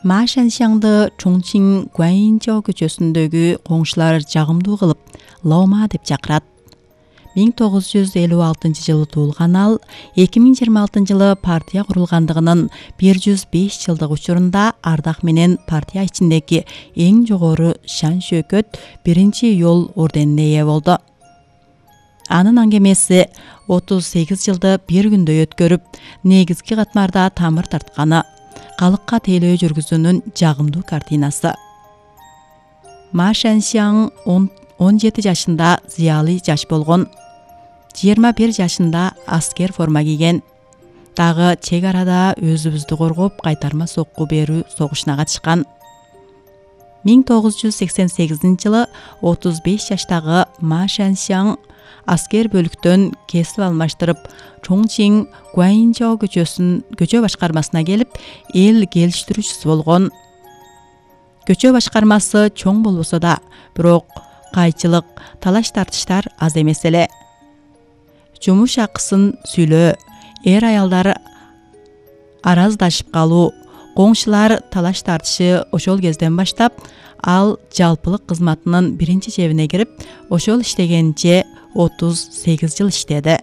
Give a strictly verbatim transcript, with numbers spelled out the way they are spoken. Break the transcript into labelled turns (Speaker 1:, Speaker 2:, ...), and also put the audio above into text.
Speaker 1: Ма Шаншаңды Чоңчин Гуаньжоу көчөсүндөгү коңшулар жагымдуу кылып Лома деп чакырат. миң тогуз жүз элүү алтынчы жылы туулган ал эки миң жыйырма алтынчы жылы партия курулгандыгынын бир жүз беш жылдык учурунда ардак менен партия ичиндеги эң жогору шан шөөкөт биринчи июл орденине ээ болду. Анын аңгемеси отуз сегиз жылды бир күндө өткөрүп, негизги катмарда тамыр тартканы, калыкка тейлөө жүргүзүүнүн жагымдуу картинасы. Ма Шаншаң он жети жашында зыялый жаш болгон. жыйырма бир жашында аскер форма кийген. Дагы чек арада өзүбүздү коргоп кайтарма сокку берүү согушуна катышкан. миң тогуз жүз сексен сегизинчи жылы отуз беш жаштагы Ма Шаншаң аскер бөлүктөн кесип алмаштырып, Чоңчин Гуаньжоу көчөсүн көчө башкармасына келип, эл келиштирүүчүсү болгон. Көчө башкармасы чоң болбосо да, бирок кайчылык, талаш тартыштар аз эмес эле. Жумуш акысын сүйлөө, эр аялдар араздашып калуу, коңшулар талаш тартышы ошол кезден баштап, ал жалпылык кызматынын биринчи жебине кирип, ошол иштегенче отуз сегиз жыл иштеди.